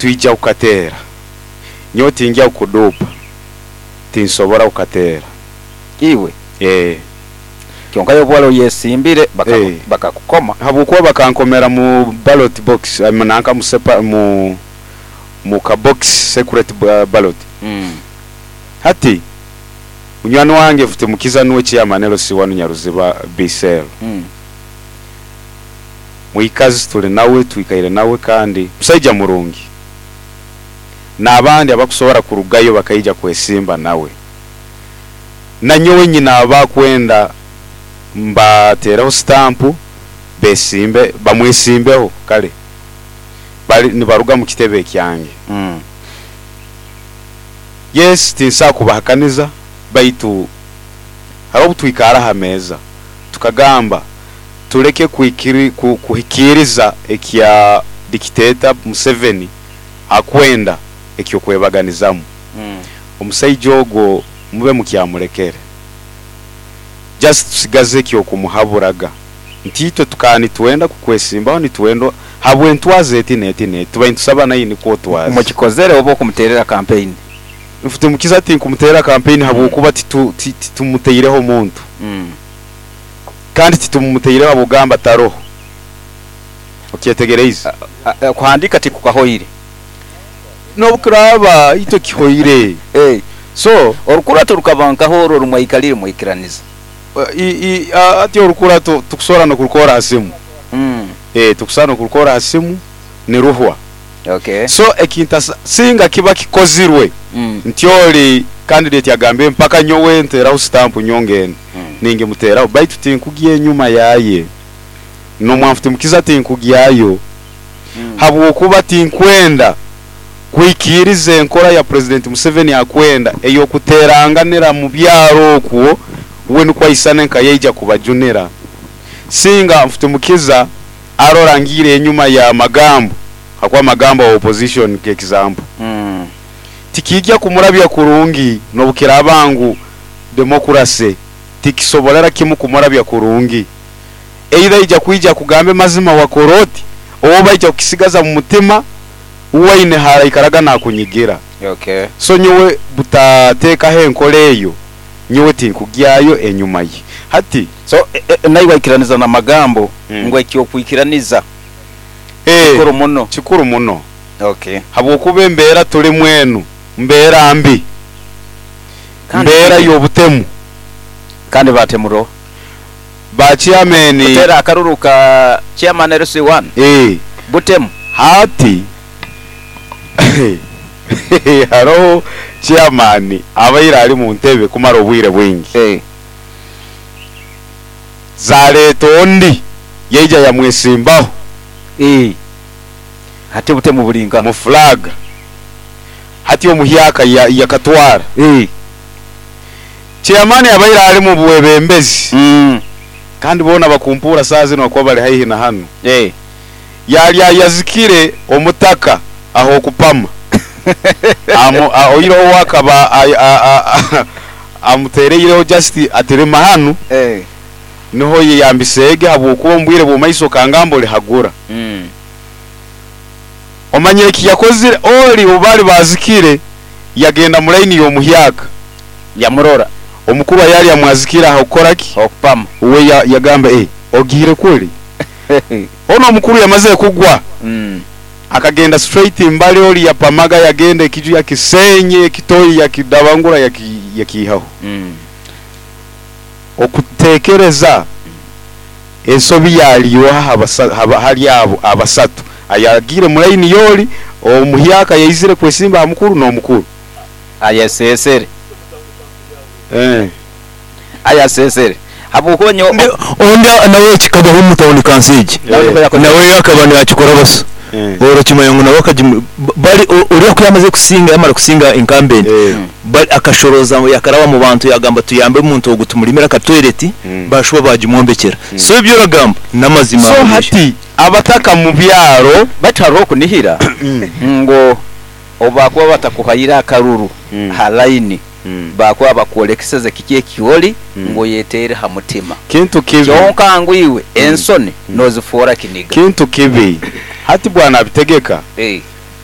Nitwija kukateera. Nyowe tingya kukuduupa, tinsobora kukateera. Iwe? Eeh. Kyonka iwe obu wali oyesimbire Eeh. bakakukoma. Habwokuba bakankomera mu ballot box, nanka mu sepa mu mu ka box secret ballot. Hati munywani wange Mfutimukiza nuwe chairman LC wanu Nyaruziba B cell. Mwikazi tuli nawe, twikaire nawe kandi musaija murungi. N'abandi abakusobora kurugayo bakaija kwesimba nawe. Nanyowe nyine abakwenda mbateereho sitampu besimbe, bamwesimbeho kale bali nibaruga mu kitebe ekyange. Yes, tinsobola kubahakaniza baitu haroho obu twikara ha meeza tukagamba tuleke kuhikiiriza ekya dictator Museveni akwenda eky'okwebaganizamu. Omusaija ogwo mube mukyamulekere. Just tusigaze eky'okumuhaburaga nti itwe tukaba nitwenda kukwesimbaho nitwenda habw'entwaza eti n'eti n'eti tubaire nitusaba naiwe nikwo otwaze. Mukikozere oba okumuteerera kampeyini? Mfutimukiza tinkumuteerera kampeyini habwokuba titumuteireho muntu. Kandi titumuteireho habw'okugamba taroho. Okyetegereize? Kuhandiika tikukahoire. N'obu kiraaba itwe kihoire. So. Orukurato rukaba nkaha oru oru mwaikalire mwaikiraniza? Hati orukurato tukusobora n'okurukora ha simu. Tukusobora n'okurukora ha simu niruhwa. So ekintasa singa kiba kikozirwe nti ori candidate agambire mpaka nyowe nteraho stamp nyowe ngende, ningimuteraho baitu tinkugya enyuma yaye. Nomwanfutimukiza tinkugyayo habwokuba tinkwenda kwikiriza enkora ya President Museveni akwenda eyokuteranganira mubyaro okwo we nukwo aisane nka yaija kubajunira. Singa Nfutimukiza arora ngiire enyuma ya Magambo hakuba Magambo wa opposition nk'example tikiija kumurabya kurungi nobukiraaba ngu democracy tikisoborera kimu kumurabya kurungi. Either aija kwija akugambe mazima wakora oti oba aija kukisigaza mumutima waine haraikaraga nakunyigira. So nyowe butateekaho enkora eyo nyowe tinkugyayo enyuma ye. Hati. So naiwe aikiraniza na Magambo ngu eky'okwikiraniza kikuru muno? Kikuru muno habwokuba embeera tulimu enu mbeera mbi, mbeera y'obutemu. Kandi batemura oha? Ba chairman. Kuteera akaruru ka chairman LC one butemu. Hati haroho chairman abaire ali muntebe kumara obwire bwingi. Zaleeta ondi yaija yamwesimbaho. Hati obutemu buri nkaha? Mu flag. Hati omuhyaka yakatwara. Chairman abaire ali mu bwebembezi kandi boona bakumpuura saaha zinu ahakuba bari haihi na hanu. Yaali ayazikire omutaka ah'okupama oihireho we akaba amutereireho just ati rima hanu niho oyeyambiseege habwokuba omu bwire bw'omumaiso okangamba orihagura. Omanyire eki yakozire? Ori obu baali baazikire yagenda mu laini y'omuhyaka. Yamurora. Omukuru ayaali amwazikire ah'okukora ki? Okupama. Uwe yagamba, Eh, ogiire kuli? Onu omukuru yamazire kugwa, akagenda straight mbali ori yapamaga yagenda ekiju yakisenye, ekitoyi yakidabangura yakiihaho. Okutekereza ensobi yaali yoha hali abo abasatu, ayagiire mu laini y'oli, omuhyaka ayaizire kwesimba ha mukuru n'omukuru? Ayasesere. Ayasesere. Habwokuba nyowe. Ondi nawe kikabaho omu tawuni kanso egi. Nawe akaba nakikora basa. Orakimanya ngu nawe akagimu bari oriya ku yamazire kusinga yamara kusinga incumbent bari akashoroza yakaraba omu bantu yagamba tuyambe omuntu ogu tumurimire aka toilet bashuba bagimwombekyera. So ebi oragamba n'amazima So hati abataka mu byaro. Baitu haroho okunihira ngu obu baakuba batakuhaire akaruru ha laini, baakuba bakwolekeseze kiki eki oli ngu oyeteere ha mutima. Kintu kibi. Kyonka ngu iwe ensoni nozifoora kiniga. Kintu kibi. Hati Bwana Abitegeka,